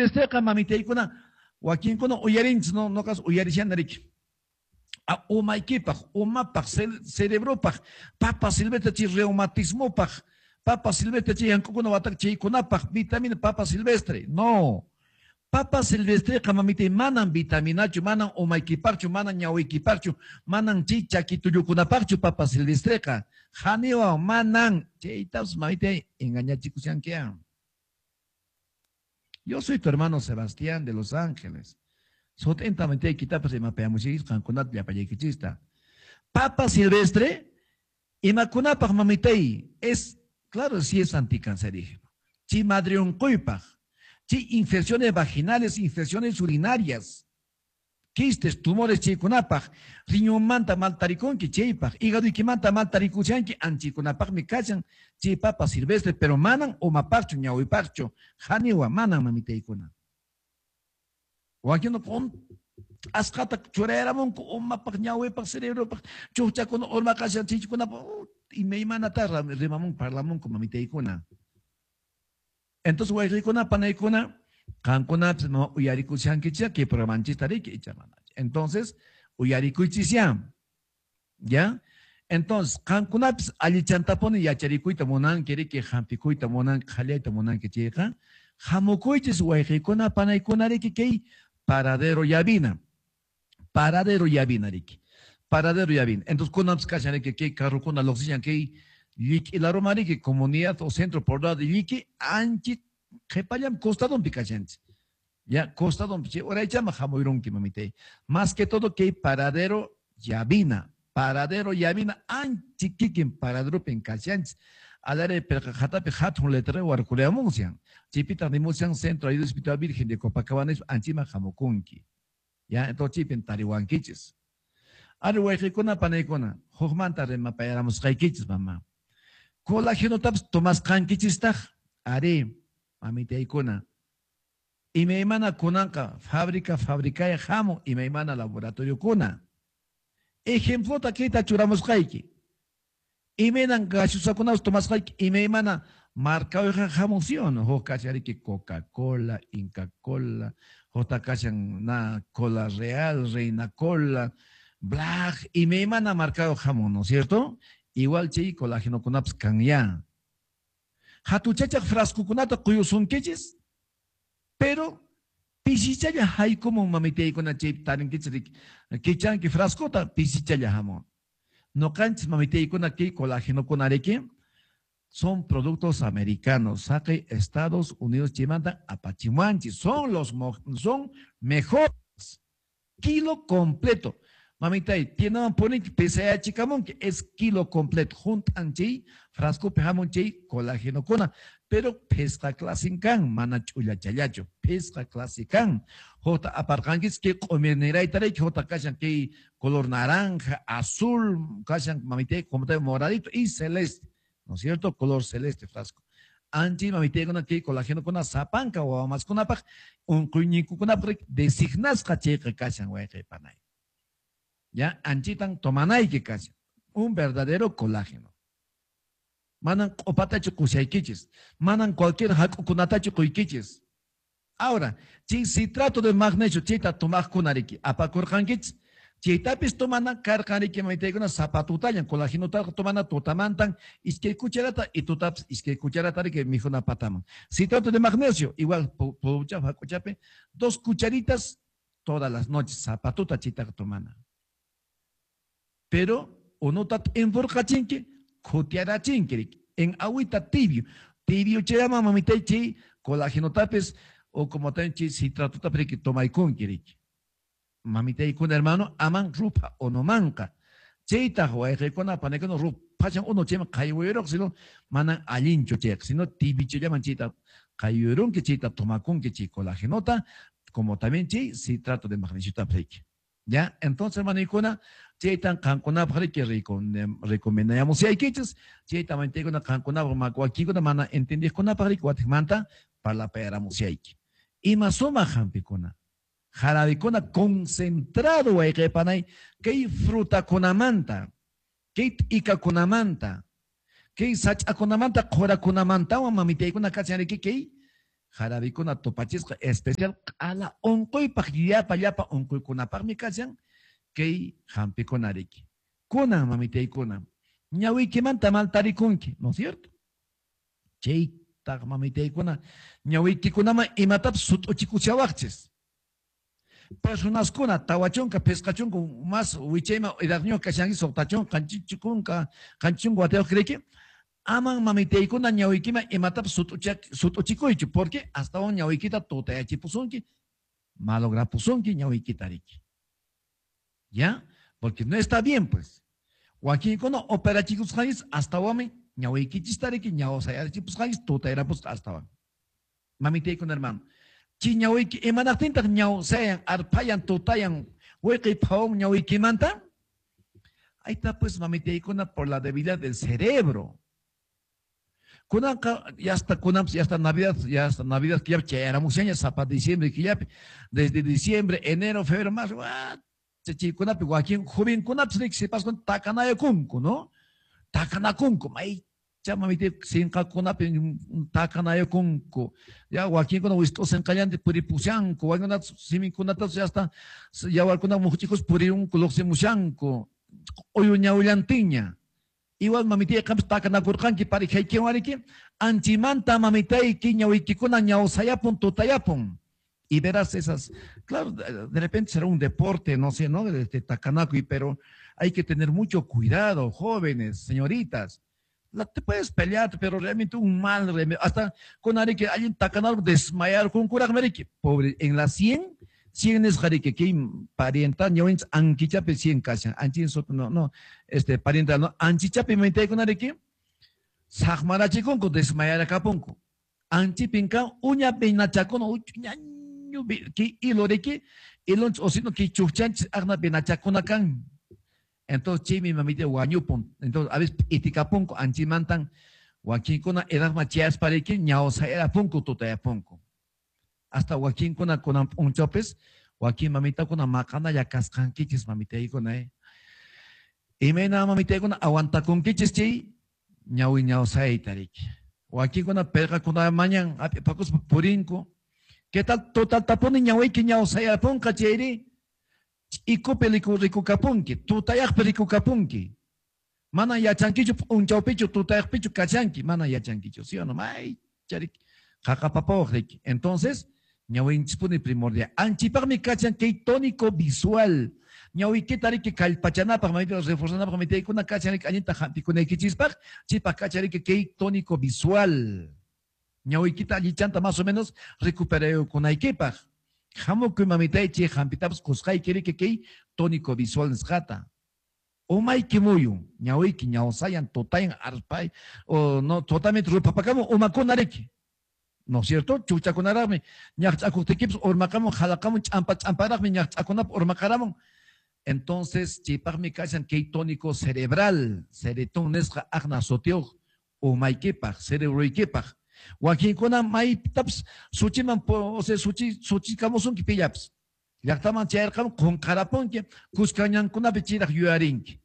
silvestreqa mamitaykuna wakinkuna uyarinchis, no, noqas uyarishani riki. Umaykipaq, umapaq, cerebropaq, papa silvestre chay reumatismopaq, papa silvestre chay yank'ukuna watak chaykunapaq, vitamina papa silvestre. No. Papa silvestreqa mamitay manan vitaminachu, manan umaykipaqchu, manan ñawiykipaqchu, manan chay chakitullukunapaqchu papa silvestreqa. Haniwa manan chaytas mamitay engañachikushankian. Yo soy tu hermano Sebastián de Los Ángeles. Sut'inta mamitay kitapas rimapayamushaykichis qankunata llapallaykichista. Papa silvestre, imakunapaq mamitay, es, claro, sí es anticancerígeno. Chay madre unquypaq, chay infecciones vaginales, infecciones urinarias, quistes, tumores chaykunapaq, riñonmanta mal tarikunki chaypaq, hígadoykimanta mal tarikushanki, anchaykunapaqmi kashan chay papa silvestre, pero manan umapaqchu, ñawipaqchu, haniwa manan mamitaykuna. Wakin con asqata churayaramunku umapaq, ñawipaq, cerebropaq, chukchakuna urmaqashan chaykunapaq, imaymanata rimamunku, parlamunku mamitaykuna. Entonces wayqikuna, panaykuna, qankunapis no uyarikushankichis kay programanchista riki icha manachu. Entonces, uyarikuychis ya. ¿Ya? Entonces, qankunapis allichantapuni yacharikuyta munanki riki, hampikuyta munanki, qhallayta munanki chayqa, hamukuychis wayqikuna, panaykuna riki kay Paradero Llavina. Paradero Llavina riki. Paradero Llavina. Entonces, kunapis kashan riki kay carrokuna lluqsishan kay Lliqui Laroma riki, comunidad o centro poblado de Lliqui, anchi qhipallam costadonpi kashanchis. Ya, costadonpi chay uraychama hamuyrunki mamitay. Más que todo kay Paradero Llavina. Paradero Llavina anchi kikin paraderopin kashanchis. Alare perqa qhatapi hatun letrero warkuriamunsian. Chaypitaq nimushan Centro Ayuda Espiritual Virgen de Copacabana anchima hamukunki. Ya, entonces chaypin tariwankichis. Ari wayqikuna panaykuna, hukmanta rimapayaramusqaykichis mama. Colágenotapas tomasqankichistaq, ari, mamitaykuna. Imaymana kunanqa fábrica fabricaya hamun imaymana laboratoriokuna. Ejemplota kayta churamusqayki. Imaynan gaseosakunapas tomasqayki imaymana markayuqqa hamun, ¿sí o no? Huk kashan Coca-Cola, Inca Cola, hukta kashan na Cola Real, Reina Cola, Black, imaymana markayuq hamun, ¿no es cierto? Igual chay colágenokunapas kan ya. Hatuchachaq frascokunata quyusunkichis, pero pisichalla haykumun mamitaykuna chay tarinkichis riki. Kichanki frascota pisichalla hamun. Noqanchis mamitaykuna kay colágenokuna riki son productos americanos, saqi Estados Unidos chaymanta apachimuanchis, son los son mejores. Kilo completo. Mamitay, tiendaman poninki pesayachikamunki, es kilo completo. Juntan chay frascopi hamun chay colágenokuna, pero pisqa clasin kan, mana ch'ullachallachu, pisqa clase kan. Hukta aparqankichis kay q'umirnirayta riki, hukta kashan kay color naranja, azul, kashan mamitay, como te moradito y celeste, ¿no es cierto? Color celeste frasco. Anchi mamitaykuna kay colágenokuna sapanka wawamaskunapaq, unquyninkukunapaq designasqa chayqa kashan wayqi panay. Ya, anchitan tomanayki kashan, un verdadero colágeno. Manan q'upatachu qushaykichis, manan cualquier hak'ukunatachu quykichis. Ahora, chay citrato de magnesio chayta tomaqkuna riki, apakurqankichis, chaytapis tomana karqan riki mamitaykuna sapatutallan, colágenotaqa tomana tutamantan iskay cucharata y tutapis iskay cucharata riki mikhuna pataman. Citrato de magnesio, igual pucha hak'uchapi, 2 cucharitas todas las noches, sapatuta chaytaqa tomana. Pero unuta t'inpurqachinki, khutiarachinki riki, en agüita tibio. Tibio chayama mamitay chay colágenotapis o como también chay citratotapis riki tomaykunki riki. Mamitaykuna hermano, aman rupa onomanqa. Chaytaq wayqikuna panaykuna rupachan uno chayman qaywayuraq, sino manan allinchu chayqa, sino tibiochallaman chayta qaywayurunki, chayta tomakunki chay colágenota, como también chay citrato de magnesio riki. Ya, entonces, hermano, chaytan qankunapaq riki recomendamos aykichis, chayta mantaykuna qankunapaq makuakikuna mana entendiqkunapaq riki watiqmanta parlapayaramusayki. Ima sumaq hampikuna, jarabikuna concentrado wayqipanay kay frutakunamanta, kay t'ikakunamanta, kay sach'akunamanta, qhurakunamantawan mamitaykuna kashan riki kay Jarabikuna tupachisqa especial q'ala unquypaq, llapa llapa unquykunapaqmi kashan kay hampikuna riki. Kunan mamitaykuna, ñawiykimanta mal tarikunki, ¿no es cierto? Chaytaq mamitaykuna, ñawiykikunaman imatapas sut'uchikushawaqchis. Personaskuna 40, 50 más wichayman edadniyuq kashanki, 60, 70, 70 watayuq riki, aman mamitaykuna ñawiykiman imatapas sut'uchikuychu, porque astawan ñawiykita tutayachipusunki, malograpusunki ñawiykita riki. ¿Ya? Porque no está bien, pues. Wakinkuna operachikusqanchis astawanmi ñawiykichista riki, ñawsayachipusqanchis tutayarapusqa astawan. Mamitaykuna hermano, chi ñawiyki imanaqtintaq ñawsayan, arphayan, tutayan, wiqi phawun ñawiykimanta? Ahí está, pues, mamitaykuna, por la debilidad del cerebro. Kunanqa ya hasta kunan, ya hasta Navidad que ya chayaramushaña sapa diciembre killapi, desde diciembre, enero, febrero, marzo, chaykunapi wakin jovenkunapis riki sipaskuna takanayakunku, ¿no? Takanakunku, maycha mamita sinqakunapi takanayakunku. Ya wakinkuna wist'u sinqallanta puripushanku, wakinkuna siminkunata ya hasta yawarkuna muqchikus purirunku, luqsimushanku, q'uyu ñawillantinña. Igual mamitay qampis takanakurqanki parejaykiwan riki, anchimanta mamitayki ñawiykikuna ñawsayapun, tutayapun. Y verás esas, claro, de repente será un deporte, no sé, ¿no? De takanakuy, pero hay que tener mucho cuidado, jóvenes, señoritas. Te puedes pelear, pero realmente un mal remedio. Hasta con arique, alguien takanal desmayar con kuraq marique. Pobre, en la 100, 100 es jarique, que parienta, ñawinch, anquichape 100 kashan, anchin soto, no, no, este, parienta, no, anchichape mente con arique, sajmarachikunku, desmayar akapunku. Anchipinka, uña peinachakuno, uña, ki hilo riki, ilonch osino ki chukchanch agna penachakuna kan. Entonces chimi mamita wañupun. Entonces a veces itikapunku anchimantan wakinkuna edadma chiaspariki ñawsayarapunku tutayapunku. Hasta wakinkuna kunan p'unchawpis wakin mamitakuna maqanalla kasqankichis mamitaykuna. Imayna mamitaykuna aguantakunkichis chay ñawi ñawsayta riki. Wakinkuna perqakuna mañan hap'ipakuspa purinku. ¿Qué tal total tapuni ñawiyki ñawsayapunqa chayri? Ch'ikupi rikukapunki, tutayaqpi rikukapunki. Mana yachankichu p'unchawpichu tutayaqpichu kachanki, mana yachankichu, ¿sí o no? May charik qaqapapawaq riki. Entonces, ñawinchispuni primordial. Anchipaqmi kachan kay tónico visual. Ñawiykita riki kallpachanapaq, mamita reforzanapaq, mamitaykuna kachan riki allinta hampikunaykichispaq, chipaq kachan riki kay tónico visual. Ñawiykita allichanta más o menos recuperaykunaykipaq. Hamukuy mamitay chay hampitapas qusqayki riki kay tónico visual nisqata. Umayki muyun, ñawiyki ñawsayan, tutayan, arpay, o no, totalmente rupapakamun umakuna riki. ¿No es cierto? Chuchakunaraqmi, ñaqch'akuqtikipas urmaqamun, jalaqamun, ch'ampa ch'amparaqmi, ñaqch'akunap urmaqaramun. Entonces, chaypaqmi kashan kay tónico cerebral, ceretón nisqa aqna sutiyuq umaykipaq, cerebroykipaq. Wakinkuna maytapas suchiman, o sea, suchi, suchikamusunki pillapas. Llaqtaman chayarqamun, qunqarapunki, kuskañankunapi chayraq yuyarinki.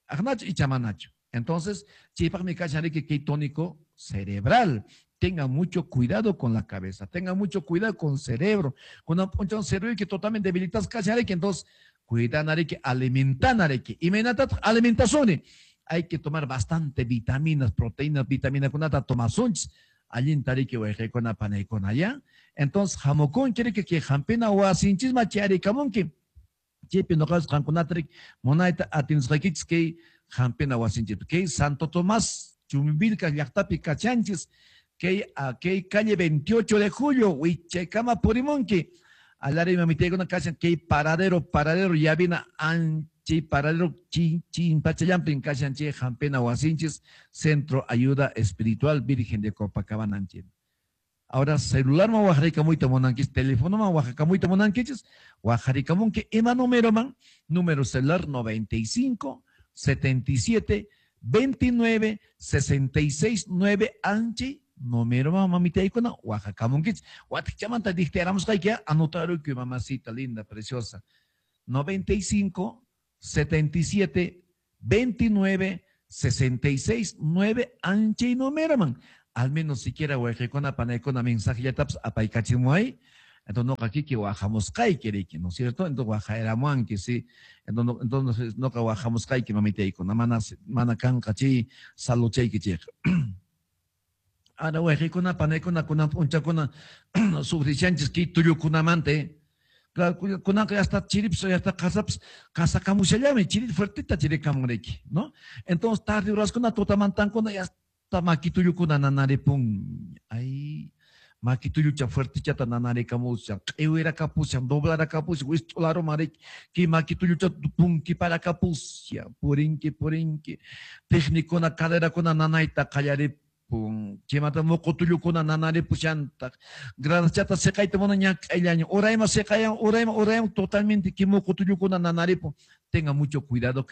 Aqnachu icha manachu. Entonces, chaypaqmi kashan riki kay tónico cerebral. Tengan mucho cuidado con la cabeza, tengan mucho cuidado con el cerebro. Cuando un cerebro que totalmente debilitas kashan riki, entonces, cuidan riki, alimentan riki. Imaynataq alimentación. Hay que tomar bastante vitaminas, proteínas, vitamina kunata tomasunchis. Allinta riki wayqaykuna panaykuna, ¿ya? Entonces, hamukunki riki kay hampina wasinchisman chayarikamunki. Chaypi nuqapas qankunata riki munayta atinisqaykichis kay hampina wasinchis. Kay Santo Tomás Chumbivilcas llaqtapi kachanchis. Kay, kay calle 28 de julio, wichaykama purimunki. Alari mamitaykuna kachan kay paradero, paradero llavina anchi paradero chin, chin pachallampin kachan chay hampina wasinchis, Centro Ayuda Espiritual Virgen de Copacabana anchi. Ahora celular ma wajarikamuyta munankichis, teléfono ma wajarikamuyta munankichis, wajarikamunki ima número man, número celular 95 77 29 66 9 anchi número ma mamitaykuna wajakamunkichis. Watikchamanta dictaramusqayki, anotarukuy mamacita linda, preciosa. 95 77 29 66 9 anchi número man. Al menos siquiera wayqikuna panaykuna mensajellatapas apaykachimuway. Entonces noqa kiki wajamusqayki riki, ¿no es cierto? Entonces wajayramuanki, sí. Entonces noqa wajamusqayki mamitaykuna, mana kanqa chay saluchayki chayqa. Ahora wayqikuna panaykuna kunan p'unchakuna sufrishanchis kay tullukunamanta, Claro, kunanqa hasta chiripas hasta qasapas qasakamushallami, chiri fuertita chirikamun riki, ¿no? Entonces tarde horaskuna tutamantankuna hasta maki tullukuna nanaripun. Ay, maki tullucha fuertichata nanarikamushan, q'iwirakapushan, doblarakapushan, wist'ularuman riki, kay maki tullucha punkiparakapushan, purinki, purinki, técnicuna, caderakuna nanayta qallaripun, chaymanta muqu tullukuna nanaripushantaq, gradaschata siqayta mana ñak'ayllaña, urayman siqayan, urayman, urayman, totalmente kay muqu tullukuna nanaripun. Tenga mucho cuidado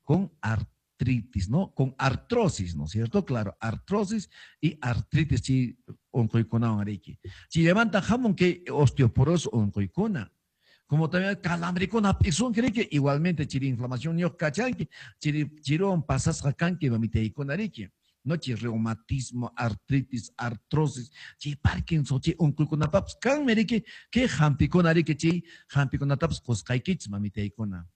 con artritis, ¿no? Con artrosis, ¿no es cierto? Claro, artrosis y artritis chi unquykunawan riki. Chaymanta hamun kay osteoporosis unquykuna. Como también calambrikuna hap'isunki riki, igualmente chiri inflamación ñuq kachanki, chiri chiruwan pasasqa kanki mamitaykuna riki. No, chi reumatismo, artritis, artrosis, chi Parkinson, chi unquykunapapas kanmi riki, kay hampikuna riki, chay hampikunatapas qusqaykichis mamitaykuna.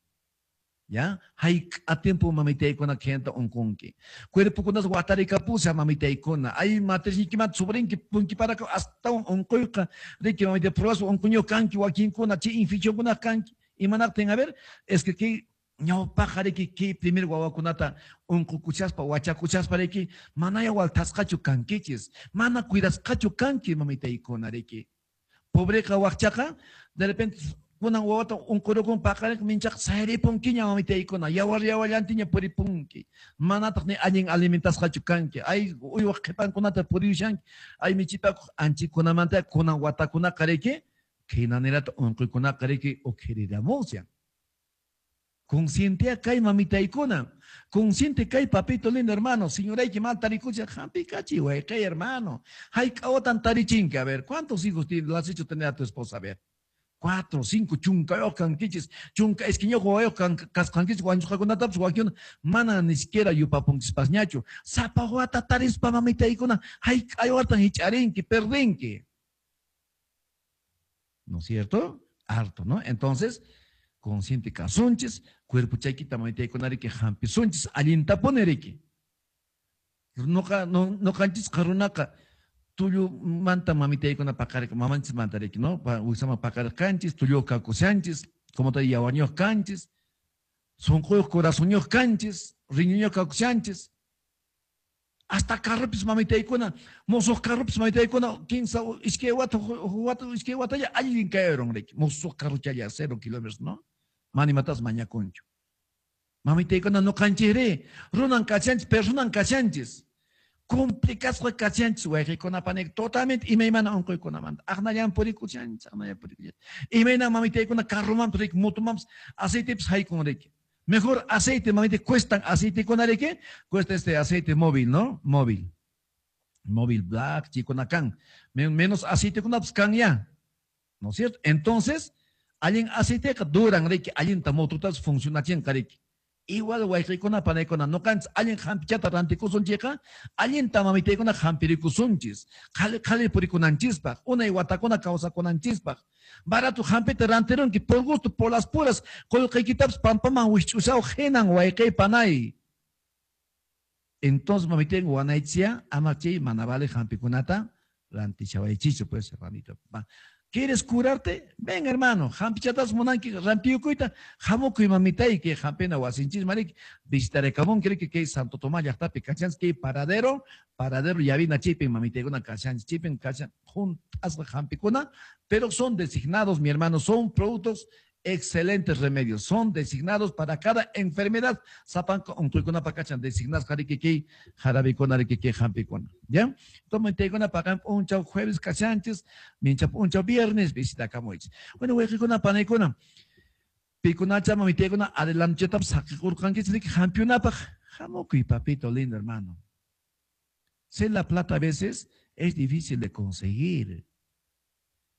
¿Ya? Hayk'a tiempo mamitaykuna khayanta unqunki. Cuerpokunas watarikapusha mamitaykuna. Ay matrisniykimanta sufrinki, punkiparaka astawan unquyqa riki mamita pruebas unquñuq kanki wakinkuna, chay infeccionkuna kanki. Imanaqtin, a ver, es que kay ñawpaqqa riki kay primer wawakunata unqukuchaspa, wachakuchaspa riki, manaya waltasqachu kankichis, mana cuidasqachu kanki mamitaykuna riki. Pobreqa wakchaqa, de repente kunan wawata unqurukun paqarinqa minchaqa sayripunkiña mamitaykuna, yawar yawallantiña puripunki, manataq ni allin alimentasqachu kanki, ay uywaq qhipankunata puriyushanki, ay michipakuq anchikunamanta kunan watakunaqa riki, khaynanirata unquykunaqa riki ukhiriramushan. Consciente kay mamitaykuna, consciente kay papito lindo hermano, señorayki mal tarikucha, hampikachi wayqey hermano, hayk'a watan tarichinki, a ver, ¿cuántos hijos tienes? ¿Las has hecho tener a tu esposa? A ver. 4, 5, chunkayuq kankichis, chunka iskayñuq wawayuq kasqankichis, wañusqakunatapas wakinkuna mana ni siquiera yupapunkispasñachu. Sapa wata tarispa mamitaykuna, hayk'a watan hich'arinki, perdinki. ¿No es cierto? Harto, ¿no? Entonces, consciente kasunchis, cuerpo chaykita mamitaykuna riki hampisunchis, allintapuni riki. Noqa, no, noqanchisqa runaqa tullumanta mamitaykuna paqarik, mamanchismanta riki, ¿no? Wiksaman paqarirqanchis, tulluyuq kakushanchis, como te yawarñuq kanchis, sunquyuq corazoñuq kanchis, riñuñuq kakushanchis. Hasta carropis mamitaykuna, musuq carropis mamitaykuna, kinsa, iskay wata, huk wata, iskay watalla allin kayarun riki, musuq carrochalla 0 kilómetros, ¿no? Mana imatas mañakunchu. Mamitaykuna noqanchikri, runan kachanchis, personan kachanchis. Complicasqa kachanchis wayqikuna panik, totalmente imaymana unquykunamanta. Aqnallan purikushanchis, aqnallan purikushanchis. Imayna mamitaykuna carromanpas riki, motomanpas aceitepis haykun riki. Mejor aceite, mamita, cuestan aceitekuna riki, cuesta este aceite móvil, ¿no? Móvil. Móvil black, chikuna kan. Menos aceitekunapas kan ya. ¿No es cierto? Entonces, allin aceiteqa duran riki, allinta mototas funcionachinqa riki. Igual wayqikuna panaykuna noqanchis allin hampichata rantikusunchikqa, allinta mamitaykuna hampirikusunchis, qhali qhali purikunanchispaq, unay watakuna kawsakunanchispaq. Barato hampita rantirunki por gusto, por las puras, qullqiykitapas pampaman wikch'ushaw hinan wayqiy panay. Entonces mamitayku wanaychia, ama chay mana vale hampikunata rantishawaychichu, pues, hermanito. Va. ¿Quieres curarte? Ven, hermano, hampichatas munanki rantiyukuyta, hamukuy mamitayki, hampina wasinchis mariki, visitarekamun, cree que Santo Tomás llaqtapi kachanchis, que paradero, paradero llavina chipin, mamitaykuna kachanchis, chipin, kachan, juntasqa hampikuna, pero son designados, mi hermano, son productos excelentes remedios, son designados para cada enfermedad. Sapanco, unquykunapa kachan, designados, jarikiki, jarabikuna, rikiki, hampikuna. ¿Ya? Entonces, mamitaykuna paqan p'unchaw jueves kachanchis, mincha p'unchaw viernes visitakamuychis. Bueno, wayqikuna, panaykuna, pikunacha, mamitaykuna, adelanchetapas saqikurqankichis, riki, hampiunapaq, hamukuy, papito lindo, hermano. Sé la plata a veces es difícil de conseguir,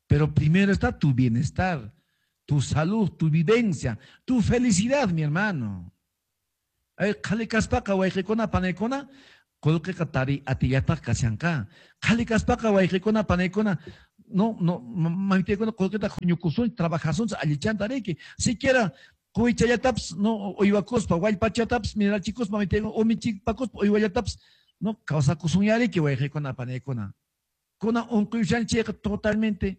pero primero está tu bienestar, tu salud, tu vivencia, tu felicidad, mi hermano. Ay, qhali kaspaqa, wayqikuna, panaykuna, Qullqiqa tariy atillataq kashanqa. Qhali kaspaqa wayqikuna panaykuna no no mamitaykuna qullqita huñukusunchik, trabajasunchik allichanta riki. Siquiera quwichallatapas no uywakuspa, wallpachatapas mirachikuspa mamitaykuna umichipakuspa uywallatapas no kawsakusunya riki wayqikuna panaykuna. Kunan unquyushanchik chayqa totalmente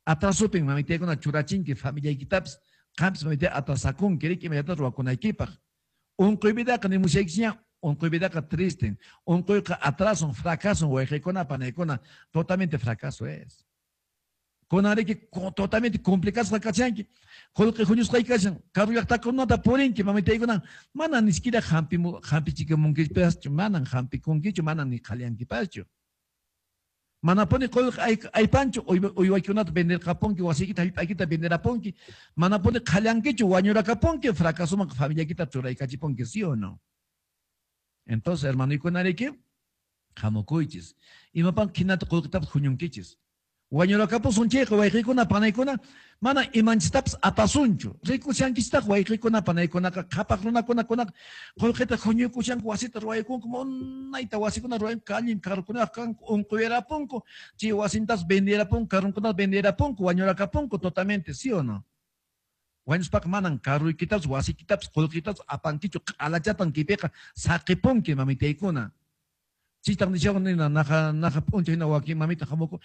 atrasupin mamitaykuna churachinki familiaykitapas, qampis mamitay atrasakunki riki imallatata ruwakunaykipaq. Unquy vidaqa nimushaykichikña, unquy vidaqa tristen. Unquyqa atrason, fracason, wayqikuna, panaykuna, totalmente fracaso es. Kunan riki totalmente complicasqa kachanki. Qullqi huñusqayki kashan, karu llaqtakunata purinki, mamitaykuna, mana ni siquiera hampichikamunkipaschu, manan hampikunkichu, manan ni qhaliyankipaschu. Manapuni qullqi aypanchu, uywaykunata venderqapunki, wasiykita, hallp'aykita venderapunki, manapuni qhallankichu, wañurakapunki, fracasoman familiaykita churaykachipunki, ¿sí o no? Entonces, hermanoykuna riki, hamukuychis. Imapan hinata qullqitapas huñunkichis. Wañurakapusun chayqa wayqikuna panaykuna mana imanchistapas apasunchu. Rikushankichitaq wayqikuna panaykunaqa qhapaq runakuna kunaqa qullqita huñuykushanku wasita ruwaykunku munayta wasikuna ruwayanku allin carrokunaq kanku unquyarapunku chay wasintas venderapunku carronkunata venderapunku wañurakapunku totalmente, ¿sí o no? Wañuspaqa manan carroykitapas wasiykitapas qullqitapas apankichu q'alachatan kaypiqa saqipunki mamitaykuna. Chitaq nishawan nina naqa naqa p'unchay hina wakin mamita hamuku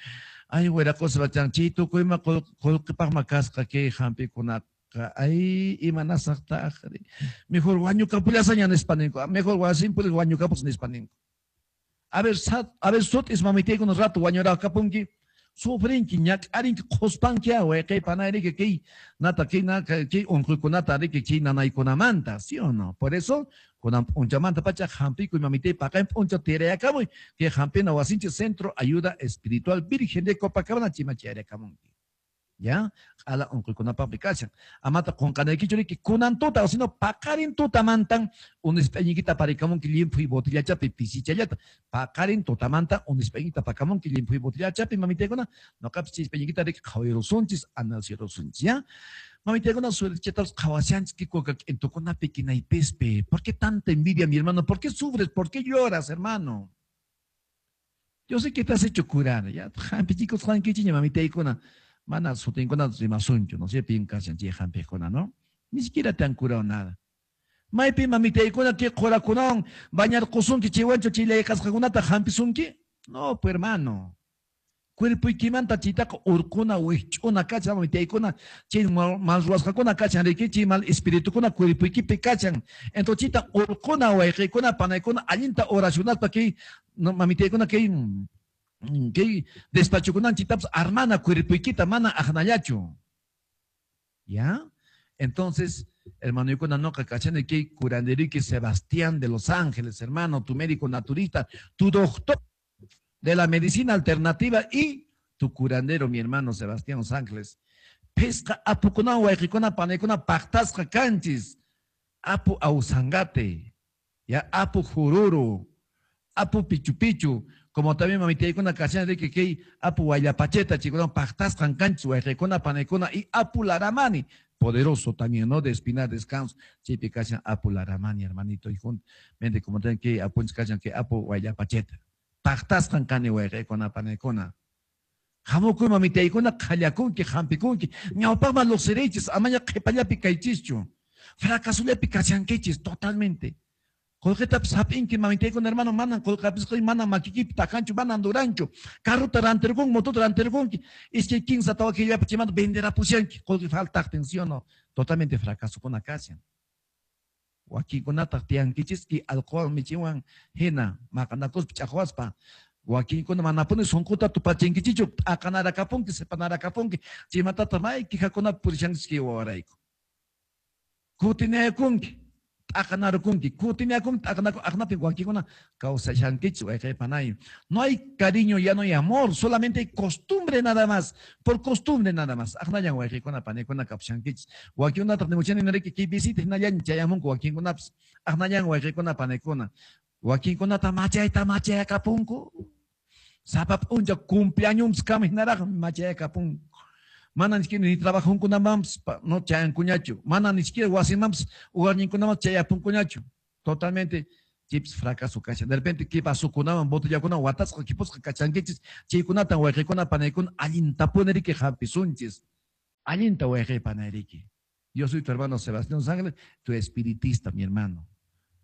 ay wiraqospa chan chay tukuyma qullqipaqma kasqa kay hampikunaqa ay imanasaqtaqri mejor wañukapullasaña nispa ninku mejor wasinpuri wañukapus nispa ninku. A ver a ver sut'is mamitaykuna rato wañurakapunki sufrinki ñak'arinki qhuspanki wayqey panayriki kay nata kay kay unquykunata riki chay nanaykunamanta, ¿sí o no? Por eso kunan p'unchamanta pacha hampikuy mamitay paqarin p'unchaw tirayakamuy kay hampina wasinchik Centro Ayuda Espiritual Virgen de Copacabana chayman chayrakamunki. Ya, q'ala unquykunapaqmi kashan. Amata qunqanaykichu riki kunan tuta o sino paqarin tutamantan unisp'ayniykita aparikamunki llimphuy botillachapi pisichallata. Paqarin tutamanta unisp'ayniykita apakamunki llimphuy botillachapi mamitaykuna noqapis chay isp'ayniykita riki qhawarusunchis, analizarusunchis, ya. Mamitaykuna suertechatapas qhawashanchis kikuka k'intukunapi kinaypispi. ¿Por qué tanta envidia, mi hermano? ¿Por qué sufres? ¿Por qué lloras, hermano? Yo sé que te has hecho curar, ya. Hampichikusqankichikña mamitaykuna. Mana sutinkuna rimasunchu, no sé, pin kashan chay hampiqkuna, ¿no? Ni siquiera te han curado nada. Maypi mamitaykuna kay qurakunawan bañarqusunki chaywanchu chay layqasqakunata hampisunki? No, pues hermano. Cuerpoykimanta chaytaqa urquna wikch'una kachan mamitaykuna chay mal ruwasqakuna kachan riki chay mal espiritukuna cuerpoykipi kachan. Entonces chayta urquna wayqiykuna panaykuna allinta oracionaspa kay mamitaykuna kay kay despachukunan chaytapas armana cuerpoykita mana aqnallachu. ¿Ya? Entonces, hermanoykuna noqa kachani kay curanderiki Sebastián de Los Ángeles, hermano, tu médico naturista, tu doctor de la medicina alternativa y tu curandero, mi hermano Sebastián Los Ángeles. Pisqa apukunawan wayqikuna panaykuna paqtasqa kanchis. Apu Ausangate, ya Apu Jururu, Apu Pichu Pichu, como también mamitaykuna kashan riki kay Apu Wayllapacheta chaykunawan paqtasqan kanchis wayqikuna panaykuna y Apu Laramani, poderoso también, ¿no? De Espinar Descanso, chaypi kashan Apu Laramani, hermanito, y juntamente como también kay apunchis kashan kay Apu Wayllapacheta. Paqtasqan kani wayqikuna panaykuna. Hamukuy mamitaykuna qhallakunki, hampikunki, ñawpaqman lluqsiriychis, amaña qhipallapi kaychischu. Fracasollapi kashankichis totalmente. Qullqitapas hap'inki mamitaykuna hermano, manan qullqi hap'isqayki, manan makikipi takanchu, manan duranchu. Carrota rantirqunki, motota rantirqunki, iskay kinsa tawa killapi chaymanta venderapushanki, qullqi faltaqtin, ¿sí o no? Totalmente fracasokuna kashan. Wakinkunataq tiyankichis kay alcohol michiwan hina maqanakuspa ch'aqwaspa. Wakinkuna manapuni sunquta tupachinkichichu, t'aqanarakapunki, sepanarakapunki, chaymantataq may quejakunapi purishankichis kay wawarayku. Kutinayakunki, t'aqanarukunki, kutinayakunki, t'aqanaku, aqnapi wakinkuna kawsashankichis wayqey panay. No hay cariño, ya no hay amor, solamente hay costumbre nada más, por costumbre nada más. Aqnallan wayqeykuna panaykuna kapushankichis. Wakinkunataq nimuchani niriki kay visita hinallan chayamunku wakinkunapas. Aqnallan wayqeykuna panaykuna. Wakinkunata machayta machayakapunku. Sapa p'unchaw cumpleaños kama hinaraq machayakapunku. Mana ni siquiera ni trabajunkunamanpas no chayankuñachu. Mana ni siquiera wasimanpas hogarninkunaman chayapunkuñachu. Totalmente Chips fracaso kashan. De repente, ¿qué vasokunawan, botellakunawan, watasqa, kipusqa kachankichis? Chaykunatan wayqikuna panaykuna allintapuni riki hampisunchis. Allinta wayqi panayriki. Yo soy tu hermano Sebastián Ángeles, tu espiritista, mi hermano.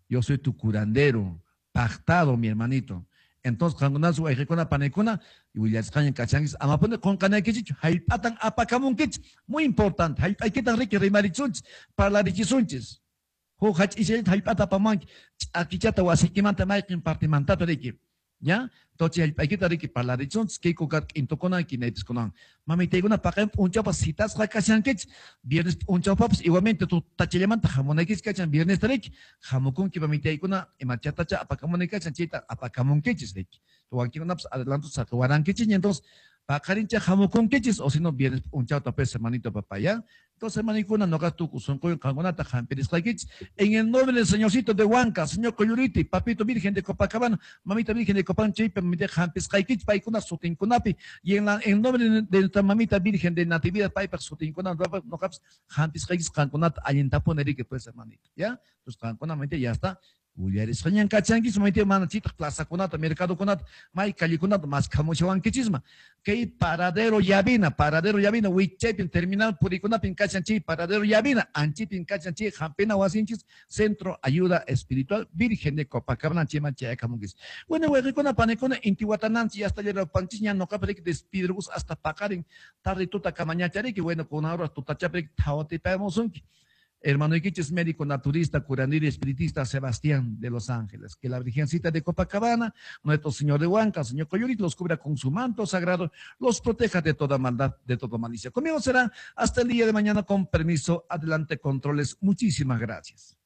Yo soy tu curandero, pactado, mi hermanito. Entonces, qankunasu wayqikuna panaykuna, willasqaña kachankichis, amapuni qunqanaykichichu, hallp'atan apakamunkichis. Muy importante, hallp'aykitan riki rimarichunchis, parlarichisunchis. Huk hach'ishallata hallp'ata apamunki, ch'akichata wasiykimanta mayqin partimantata riki. ¿Ya? Entonces, hallp'aykita riki parlarichunchis, kayku k'intukuna, kinaypiskunawan. Mamitaykuna paqarin p'unchawpas citasqa kashankichis, viernes p'unchawpapas igualmente tutachallamanta hamunaykichis kachan, viernesta riki, hamukunki mamitaykuna, imachatacha apakamunay kachan, chayta apakamunkichis riki. Wakinkunapas adelanto saqiwarankichis, entonces, paqarincha hamukunkichis, o si no, viernes p'unchawta pues, hermanito papá, ¿ya? Entonces, hermanikuna, noqa tukuy sunquywan qankunata hampirisqaykichis. En el nombre del Señorcito de Huanca, Señor Coyuriti, Papito Virgen de Copacabana, Mamita Virgen de Copán, chaypi, mamita hampisqaykichis, paykuna sutinkunapi. Y en el nombre de nuestra Mamita Virgen de Natividad, paypaq sutinkuna, noqapas hampisqaykichis qankunata allintapuni riki, pues, hermanito, ¿ya? Entonces, qankuna, mamita, ya está. Willarisqañan kachankichis, mamita, mana chitaq plazakunata, mercadokunata, may callekunata maskhamushawankichisma. Kay paradero Llavina, paradero Llavina, wichaypin terminal purikunapin kachan chay, paradero Llavina, anchipin kachan chay, hampina wasinchis, Centro Ayuda Espiritual Virgen de Copacabana, chayman chayakamunkichis. Bueno, wayqikuna, panikuna, intiwatananchis, ya hasta llerapanchis, ña noqapi riki despidrus hasta paqarin, tarde tuta kamañachariki, bueno, con ahora tutachapiri thawatipamusunki. Hermano Iquiches, médico naturista, curandero y espiritista Sebastián de Los Ángeles. Que la Virgencita de Copacabana, nuestro Señor de Huanca, Señor Coyurit, los cubra con su manto sagrado, los proteja de toda maldad, de toda malicia. Conmigo será hasta el día de mañana, con permiso. Adelante, controles. Muchísimas gracias.